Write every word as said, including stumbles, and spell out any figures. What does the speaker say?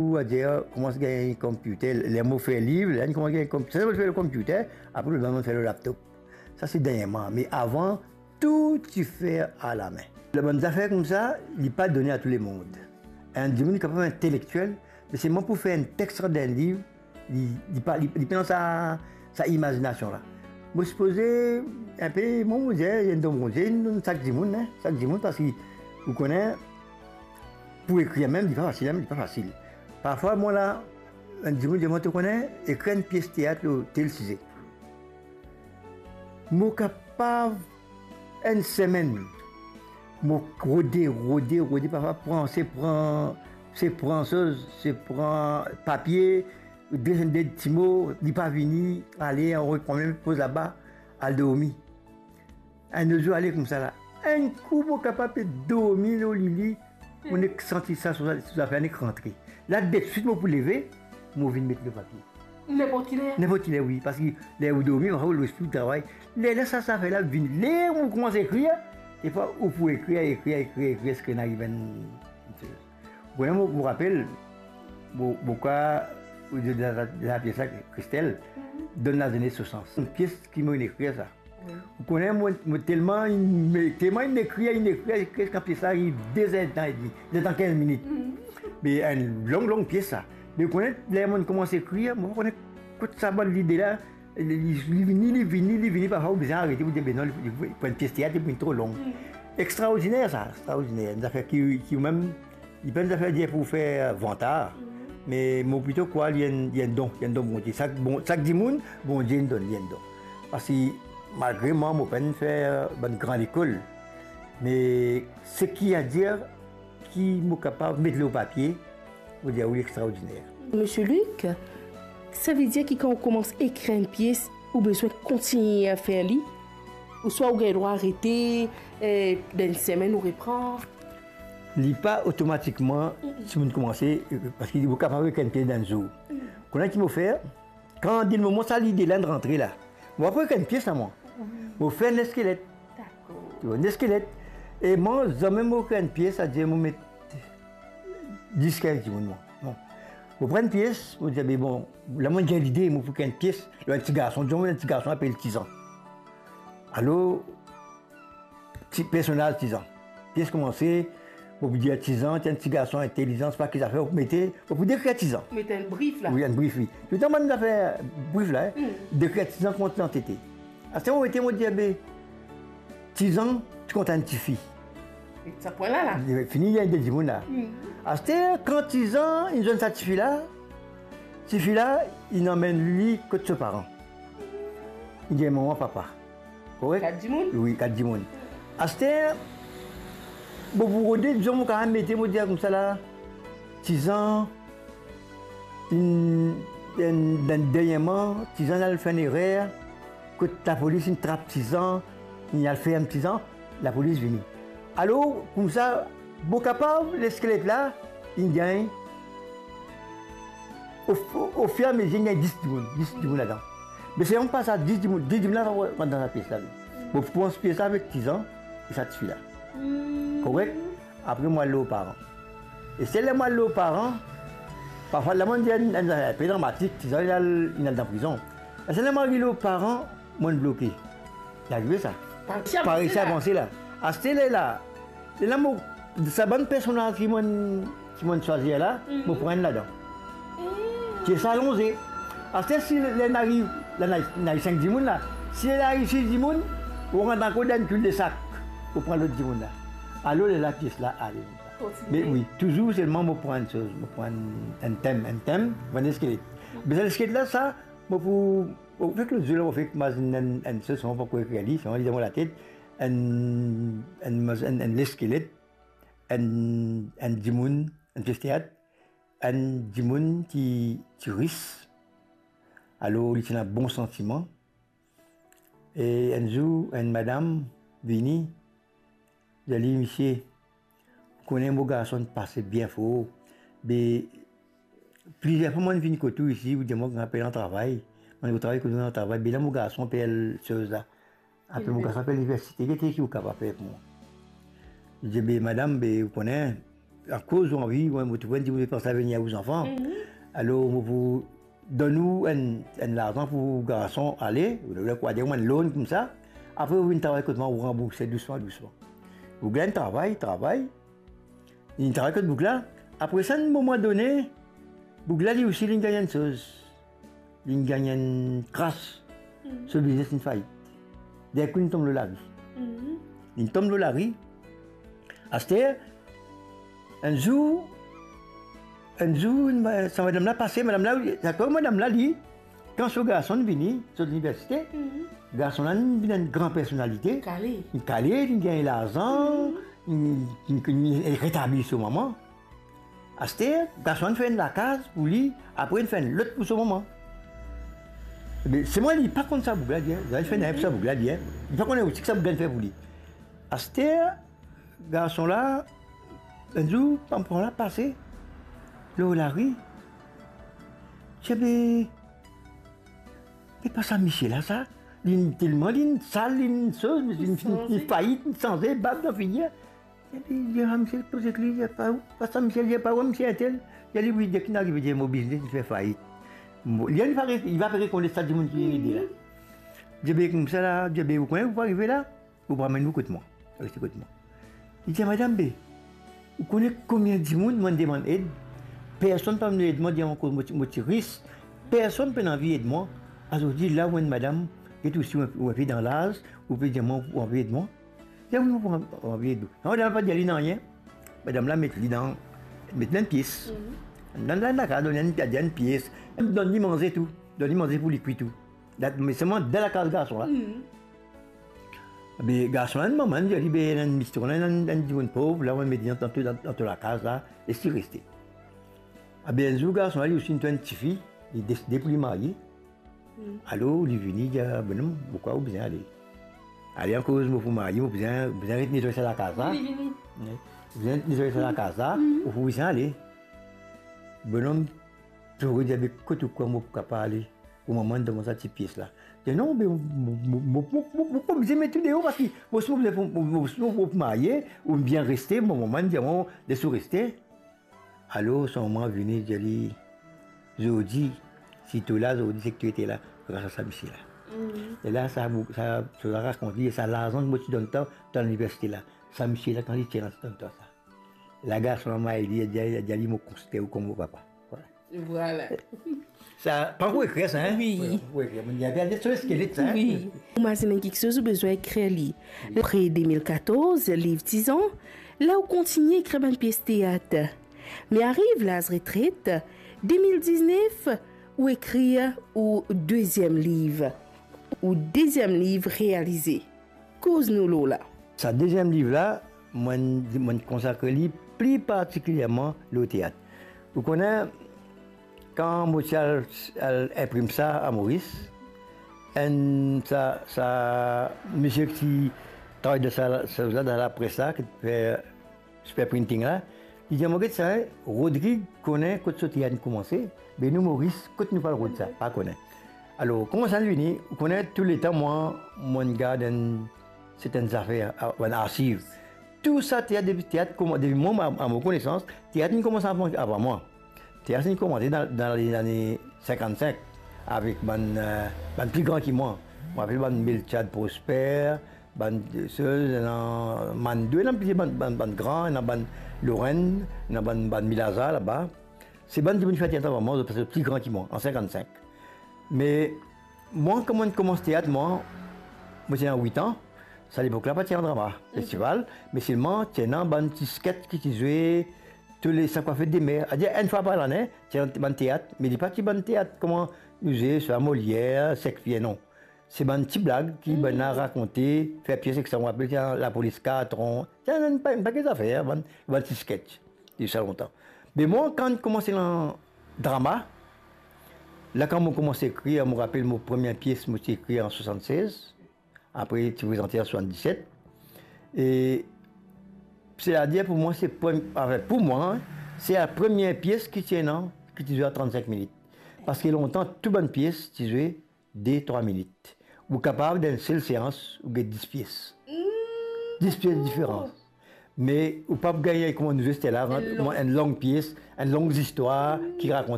Ou adir, koumans gagn computer, ler mo fer liv, la, koumans gagn computer, sa mo fer lor computer, apre, mo fer lor laptop. Sa se dernyerman, me avan, tou ti fer alame. Bann zafer koumsa, li pa done a tou lemond. Enn dimoun kapav intelektiel, me selman pou fer enn text dan enn liv, li, li pa, li, li pena sa, sa imazinasion la. Mo sipoze, inpe, mo, mo dir, enn don Bondie, inn donn sak dimoun, hein, sak dimoun, parski, ou kone, pou ekrir mem, li pa fasil, hein, li pa fasil. Parfwa, mwa la, enn dimoun dir mwa, to kone, ekrir enn pies teat lor tel size. Mo kapav enn semenn, mo rode, rode, rode, parfwa pran, se pran, se pran soz, se pran papie, desenn de ti mo, li pa vini, ale, anvoy pran mem, poz laba, al dormi. Enn lot zour ale koumsa la. Enn kou mo kapav pe dormi lor lili, mo nek santi sa, so, so zafer nek rantre. La, deswit mo pou leve, mo vinn met lor papie. Ninport ki ler? Ninport ki ler, wi, parski ler ou dormi, ou lespri travay. Ler, ler sa, sa zafer la vini, ler ou koumans ekrir, e pa ou pou ekrir, ekrir, ekrir, ekrir, ziska inn ariv enn, enn soz. Bon, mo, mo rapel, mo, mo krwar, de, de, de, de la pies la, Christelle, donn lazenes so sans. Enn pies ki mo inn ekrir sa. Wi. Ou kone, mo, mo telman inn, me, telman inn ekrir, inn ekrir, ekrir, kan pies la ariv de zer dan edmi, de zer dan kinz minit. Me enn long, long pies sa. Me ou kone, ler mo koumans ekrir, mo pa kone kot sa bann lide la, li, li, li vini, li vini, li vini, parfwa ou bizin arete, ou dir, be non, li, li, pou enn pies teat, li pou vinn tro long. Extraordiner sa, extraordiner. Enn zafer ki, ki mem, li pa enn zafer dir pou fer vantar, me mo plito krwar li enn, li enn don, li enn don Bondie. Sak bon, sak dimoun, Bondie inn donn li enn don. Parski malgre mwa, mo pa'nn fer bann gran lekol, me seki adir ki mo kapav met lor papie, mo dir, wi, extraordiner. Misie Luc, savedir ki kan ou koumans ekrir enn pies, ou bizin kontign fer li, ouswa ou gagn drwa arete, eh, dan enn semenn ou repran? Li pa otomatikman, si mo koumans, eh, parski ou kapav ekrir enn pies dan enn zour. Kone ki mo fer, kan dan moman sa lide la inn rantre la, mo pa pou ekrir enn pies la, mwa. Mo fer enn leskelet. Dakor. To konpran, enn leskelet. E mwa, zame mo ekrir enn pies, savedir mo met dis kinz dimoun, mwa. Bon. Mo pran enn pies, mo dir, be bon, la mo gagn lide, mo pou ekrir enn pies lor enn ti garson, dizon enn ti garson apel Tizan. Alor, ti personaz Tizan. Pies koumanse, mo pou dir Tizan, ti enn ti garson intelizan, pa ki zafer, mo pou mete, mo pou dekrir Tizan. Met enn brif la. Wi, enn brif, wi. Touletan bann zafer brif la, hein. Hmm. Dekrir Tizan kouma Tizan ti ete. Aster mo mete, mo dir, be, Tizan ti kontan enn tifi. E sa pwin la la. Fini, li ena de dimoun la. Hmm. Aster, kan Tizan inn zwenn sa tifi la, tifi la, inn amenn li kot so paran. Li gagn mama, papa. Korek? Kat dimoun? Wi, kat dimoun. Aster, bon, pou rode, dizon, mo kapav mete, mo dir koumsa la, Tizan, inn, inn, dernyerman, Tizan al fer enn erer, kot lapolis inn trap Tizan, inn al ferm Tizan, lapolis vini. Alor, koumsa, mo kapav, leskelet la, inn gagn, o, o, ofiramezir, inn gagn dis dimoun, dis dimoun ladan. Me se pa sa dis dimoun, dis dimoun la, pa rant dan sa pies la. Mo koumans pies la avek Tizan e sa tifi la. Hmm. Korek? Apre, mo al lor paran. E se ler mo al lor paran, parfwa, la mo dir enn, enn zafer inpe dramatik, Tizan inn al, inn al dan prizon. E se ler mo ariv lor paran, mo bloke. Li arive sa. Pa resi avanse la. Aster lerla, lerla mo, sa bann personaz ki mo, ki mo swazir la, mo pran enn ladan. Pies la lonze. Aster si ler inn ariv, la inn ariv, inn ariv sink dimoun la. Si ler inn ariv sis dimoun, mo rant ankor dan enn toul de sak, mo pran lot dimoun la. Alor lerla pies la ale. Kontinie. Me wi, touzour selman mo pran enn soz, mo pran enn tem, enn tem, mo pran leskelet. Me sa leskelet la, sa, mo pou, mo fek lot zour la, mo fek mazinn enn, enn soz, mo pankor ekrir li, selman li dan mo latet, enn, enn, enn, enn leskelet, enn, enn dimoun, enn pies teat, enn dimoun ki, ki ris, alor li ti ena bon santiman. E enn zour, enn madam vini, dir li, misie, ou kone mo garson pase bien for, be plizier fwa mo'nn vinn kot ou isi, ou dir mwa ki ou pe al travay, mo'nn travay kot ou, al travay, be la mo garson pe al soz la. Apre mo garson pe al liniversite, gete ki ou kapav fer pou mwa. Li dir, be madam, be ou kone, akoz ou anvi, ou, ou trouv enn dimoun pe pans a vinn ar ou zanfan, alor mo pou donn ou enn, enn larzan pou garson ale, ou, ou, ou, enn loan koumsa, apre ou vinn travay kot mwa, ou ranbourse dousman, dousman. Boug la inn travay, travay, li travay kot boug la. Apre sa, enn moman done, boug la, li osi, li gagn enn soz. Li gagn enn kras. So biznes inn fayit. Derkou, li tom lor lari. Li tom lor lari. Aster, enn zour, enn zour, enn ma-, sa madam la pase, madam la, dakor, madam la, li, kan so garson vini, sot liniversite, garson la vinn enn gran personalite. Kale. Li kale, li gagn larzan, li, li, li retabli so mama. Aster, garson la fer enn lakaz pou li, apre li fer enn lot pou so mama. Be, selman li pa konn sa boug la dir, li fer nanye pou sa boug la dir, li pa konn osi ki sa boug la fer pou li. Aster, garson la, enn zour, pam pam la pase lor lari. Ti be, me pa sa misie la sa, li telman li sal, li soz, li, li, li fayit, li sanze, bab dan figir. Epi, li dir, "Ah, misie, koze ki li, li pa ou, pa sa misie, li pa ou, misie entel." Li dir, "Wi, deki inn arive, dir mo biznes, li fer fayit." Mo, li, li pa re-, li pa pe rekonet sa dimoun ki inn ede la. Li dir, "Be, koumsa la," li dir, "be, ou kone ou pou arive la, ou pou amenn ou kot mwa, reste kot mwa." Li dir, "Madam, be, ou kone konbien dimoun mo demann ed? Personn pa vinn ed mwa, dir ankor mo ti, mo ti ris, personn pena anvi ed mwa. Azordi la, ou enn madam, get osi ou, ou enpe dan laz, ou pe dir mwa ou anvi ed mwa." Li dir, "Wi, mo pou anvi ed ou." Madam la pa dir li nanye. Madam la met li dan, met li dan enn pies. Dan, dan lakaz, donn li enn, enn pies. Donn li manze tou. Donn li manze pou li kwi tou. Dat, me selman dan lakaz garson la. Be, garson la, mama, li dir li, "Be, enn misie, enn, enn dimoun pov, la, ou met li dan, dan, dan to lakaz la, les li reste." Abe, enn zour, garson la, li osi inn trouv enn tifi, li deside pou li marye. Alor, li vini, li dir, "Bonom, mo krwar ou bizin ale. Ale akoz mo pou marye, mo bizin, bizin ret netway sa lakaz la. Vini, vini. Wi. Bizin ret netway sa lakaz la, ou pou bizin ale." Bonom plore, dir, "Be, kot ou krwar mo pou kapav ale? Ou mama donn mwa sa ti pies la." Li dir, "Non, be, mo, mo pa bizin met ou deor, parski mo, mo, mo pou marye, ou bien reste, mo mama dir mwa, les ou reste." Alor, so mama vini, dir li, "Zordi, si to la zordi, se ki to ete la gras a sa misie la." E la, sa, sa, sa rakont li, sa larzan ki mo ti donn twa dan liniversite la. Sa misie la, kan li ti ena, ti donn twa sa. La, garson la, li dir, li dir, li dir li, "Mo konsider ou kouma mo papa." Vwala. Vwala. Sa, pa pou ekrir sa, hein? Wi. Wi, wi, wi. Li a bien so skelet sa, hein? Wi. Ou mazinn enn kiksoz ou bizin ekrir li. Apre de mil katorz, liv Tizan, la ou kontigne ekrir bann pies teat. Me ariv laz retret, de mil diznef, ou ekrir ou deziem liv. Ou deziem liv realize. Koz nou lor la. Sa deziem liv la, mo, mo konsakre li pli partikilierman lor teat. Ou kone, kan mo ti al, al inprim sa a Moris, enn sa, sa misie ki ti travay dan sa, sa, sa, dan lapres la, ki ti fer Super Printing la, li dir mwa, "Get sa, Rodrig kone kot so teat inn koumanse, be nou Moris, kot nou pou al rod sa, pa kone." Alor, kouma sa inn vini, ou kone, touletan mwa, mo gard enn sertenn zafer, a, bann arsiv. Tou sa teat, depi teat kouma-, depi mwa, a, a mo konesans, teat inn koumans avan, avan mwa. Teat inn koumans dan, dan lane, lane sinkannsenk, avek bann, eh, bann pli gran ki mwa. Mo rapel bann Melchiade Prosper, bann, eh, so, ena Mando, ena plizier bann, bann, bann gran, ena bann Lorraine, ena bann, bann Milaza laba. Se bann dimoun ki fer teat avan mwa, zot pli gran ki mwa, an sinkannsenk. Me mwa, kan mo koumans teat, mwa, mo ti ena wit an, sa lepok la pa ti ena drama, festival, me selman ti ena bann ti sketch ki ti zwe tou le, sak pa fet de mer. Adir, enn fwa par lane, ti ena bann teat, me li pa ti bann teat kouma nou zwe, swa Molière, Shakespeare, non. Se bann ti blag ki bann la rakonte, fer pies ek sa, mo rapel, ti ena Lapolis Katron, ti ena enn pa-, enn pake zafer, bann, bann ti sketch, depi sa lontan. Me mwa, kan koumans ena drama, la kan mo koumans ekrir, mo rapel mo premie pies, mo ti ekrir an swasannsez, apre ti prezante an swasanndiset. E, setadir pou mwa, se prem-, anfin, pou mwa, se la premie pies ki ti ena, ki ti zwe a trannsink minit. Paske lontan, tou bann pies ti zwe de, trwa minit. Ou kapav, dan enn sel seans, ou get dis pies. Dis pies diferan. Me ou pa pou gagn kouma nou zwe Stella, kouma enn long pies, enn long zistwar ki rakont